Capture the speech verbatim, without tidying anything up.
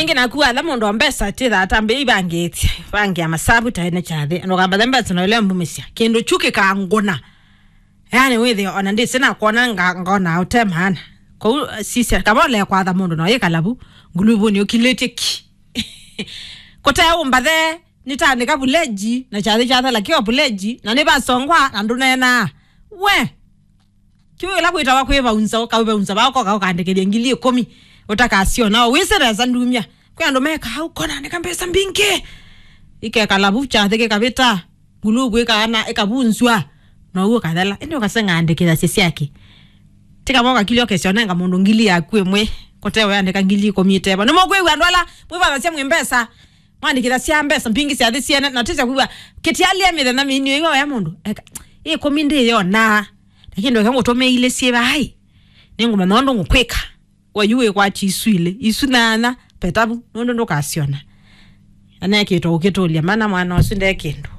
Ĩngĩ naku watha mũndũ wa mbesa, tĩthaa tambĩa ivangĩtye, vangĩa masavu ta ene kyathĩ. Ndũkambathe mbesa na ũlea mbumĩsya. Kĩndũ kyu kĩkangũna. Yani wĩthĩe ona ndĩsĩ nakwona nga-, ngona ũte maana. Kwoou, sisya, kava ũlea kwatha mũndũ na ũyĩkala vu nguluvunĩ ũkilĩtye ki. Kũte ũmbathe, nĩtaandĩka vuleji, na kyathĩ kyathela kĩo vuleji, na nĩvasongwa, na ndũneenaa. We! Kĩu ĩla kwĩtawa kwĩvaunza, ũkaũvaunza vaa, ũkoka ũkaandĩkĩthya ngili ĩkũmi, ũtakasiona, o wĩsĩ nesa ndumya. Kwĩ andũ mekaa ũkona andĩka mbesa mbingĩ. Ikekala vu kyathĩ kĩkavĩta, nguluvu ĩkaana, ĩkavunzwa, na ũu ũkathela. Ĩndĩ ũkaseng'a andĩkĩthasya syake. Tikavoka kĩlyo kĩsyo nenga mũndũ ngili yaku ĩmwe, kũtewe andĩka ngili ĩkũmi ĩtevo. Nĩmũkwĩw'a andũ ala mwĩvathasya mwĩ mbesa, mwandĩkĩthasya mbesa mbingĩ syathĩ syene, na tĩsya kwĩw'a kĩtialia mĩthenya mĩinĩ ĩyo ya mũndũ. Eka, ĩkũmi ndĩyonaa. Lakini ndũke ngũtũme ilĩ syĩ vai. Nĩngũmanya ũndũ ngũkwĩka. We yu wĩkwati isu ilĩ, isu nyanya, petavu, nũndũ ndũkasyona. Anekĩtwa ũkĩtũlya mana mwana ũsu nde kĩndũ.